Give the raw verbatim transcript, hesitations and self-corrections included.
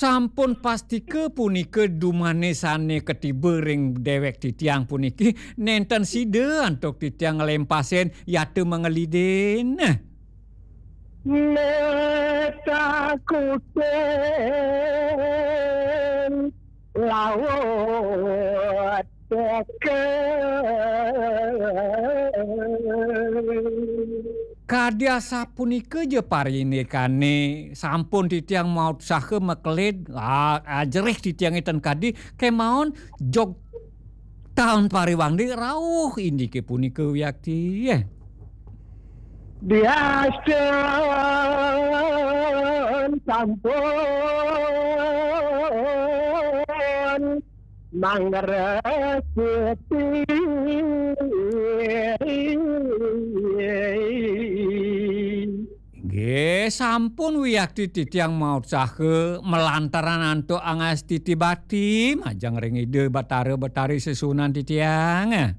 Sampun pastika punika dumane sane katiba ring dewek titiang puniki, nenten sida antuk titiang nglempasin yata mangelidin. Metakutin laut teka. Kadi asapunika ja parindikane sampun titiang mautsaha makelid, ah, ajerih titiange ten kadi, kemaon jog taun pariwangde rauh indike punika wiakti. Diastun sampun mangresiti. Nggih, sampun wiakti titiang mautsaha malantaran antuk angastiti bati majeng ring Ida Batara Betari sesuunan titiang.